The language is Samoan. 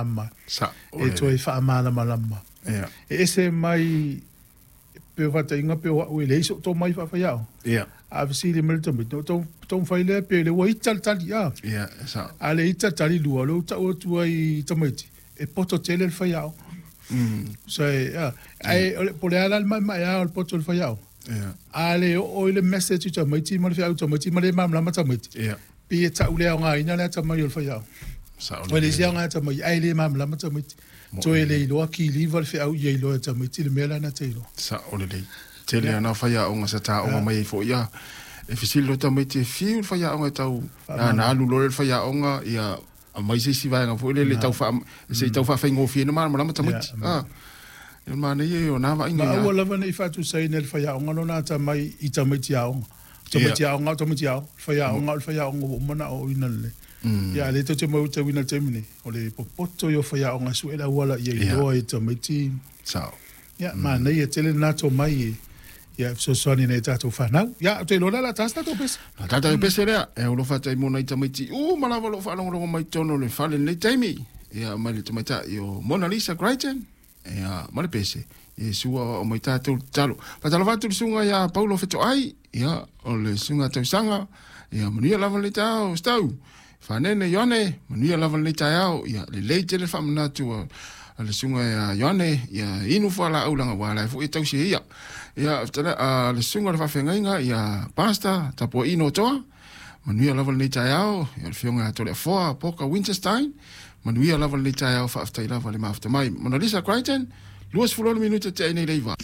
malamalama e toe faamalamalama. E ese mai pei o faataitaiga pei o au e leai so'u tomai faafaiaoga. A fesili mai le tamaiti, ona ou taumafai lea pei o lea ua ita le tali a. A le ita le tali lua, o lea ua tau atu ai i tamaiti, e poto tele le faiaoga. So, ae po o le a la le maemaea o le poto o le faiaoga, a le oo i le message i tamaiti ma le feau i tamaiti ma le malamalama tamaiti, pei e tau le aogaina le atamai o le faiaoga. Ua leai se aoga e atamai ae le malamalama tamaiti. Toe le iloa kiliva le feau ia iloa e tamaiti le mea lea na te iloa. Sao lelei. Tele lava na o faiaoga sa taoga mai ai foi a. E fesili loa tamaiti e fiu le faiaoga e tau na alu loa lea le faiaoga ia aumai se isi vaega foi lele tau faa se i tau faafaigofie ai ona malamalama tamaiti. A. O le manaia ia o na vaaiga. Ma aua lava ne i faatusaina e le faiaoga lona atamai i tamaiti aoga. Tamaiti aoga o tamaiti aoga, o le faiaoga o le faiaoga ua uma ona aoaoina lelei. Ia a o lea tou te matauina i le taimi nei, o le popoto ia o faiaoga e sue le auala ia iloa e tamaiti. Sao. Ia, manaia tele lena tomai e fesoasoani i nai a tatou fanau. Ia, ou te iloa o le a ta se tatou pese. O le tatou pese lea, e alofa atu ai mo nai tamaiti uma lava o lo o faalogologo mai i totonu o le fale i lenei taimi. Ia, mai le tamaitai o Mona Lisa Crichton. Ia, ma le pese, Iesu aoao mai tatou le tatalo. Faatalofa atu i le susuga ia Paulo Fetoai, ia, o le susuga tausaga, ia, manuia lava lenei taeao, Stau. Fanene Ioane, manuia lava lenei taeao, ia, lelei tele le faamanatu a, a le susuga ia Ioane, ia, inu fualaau leaga ua ala ai foi e tausi e ia. Ia, a le susuga i le faafeagaiga, ia, Pastor Tapuaino Toa, Manuia lava lenei taeao, ia le Afioga ia Toleafoa Poka Winterstein, manuia lava lenei taeao, faafetai lava le mafuta mai. Monalisa Crichton, 26 minute tea ai nei le 9.